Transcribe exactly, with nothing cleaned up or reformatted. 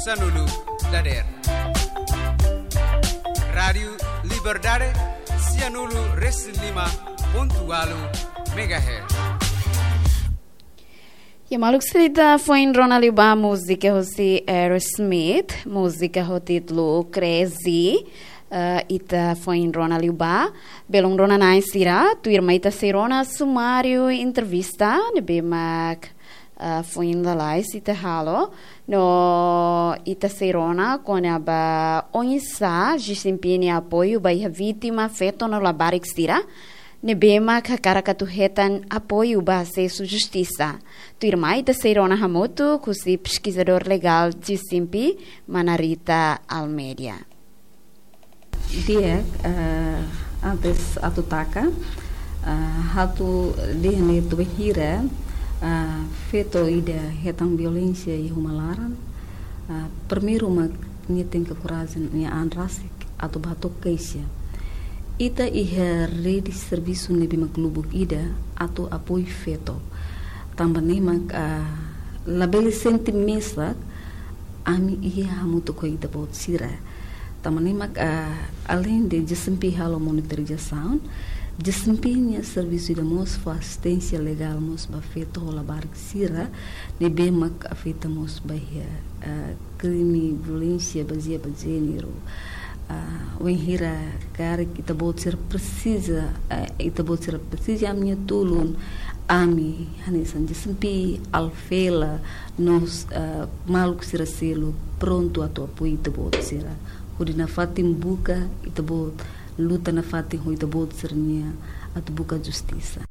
Sanulu dader. Rádiu Liberdade, sianulu resin lima pontu walu megahertz. Ya, maluk sira, ita foin rona liu ba múzika hosi Aerosmith, múzika ho títulu Crazy. Eh, ita foin rona liu ba, belun rona-na'in sira, tuirmai ita sei rona sumáriu entrevista ne'ebé mak, eh, foin lalais ita halo, no ita sei rona kona-ba oinsá G C M P nia apoiu ba iha vítima, feto no labarik sira ne'ebé mak hakarak atu hetan apoiu ba asesu justisa. Tuirmai ita sei rona hamutuk husi peskizadór legál G C M P, Mana Rita Almeida. Di'ak, eh, antes atu taka, eh, ha'u atu dehan ne'e, bainhira, eh, feto ida hetan violénsia iha uma laran, eh, primeiru mak nia tenke korajen, nia an rasik atu bá hato'o keixa. Ita iha rede servisu ne'ebé mak lubuk ida atu apoiu feto. Tanba ne'e mak, eh, labele sente mesak, ami iha hamutuk ho ita-boot sira. Tanba ne'e mak, ah, aleinde G C M P halo monitorizasaun, G C M P nia servisu ida mós fó asisténsia legál mós ba feto ho labarik sira ne'ebé mak afeta mós ba iha, ah, krime violénsia bazeia ba jéneru. Ah, wainhira karik ita-boot sira presiza, ah, ita-boot sira presiza ami-nia tulun, ami hanesan G C M P, Alfela, no, eh, maluk sira seluk prontu atu apoiu ita-boot sira. Hodi nafatin buka ita-boot, luta nafatin ho ita-boot sira-nia atu buka justisa.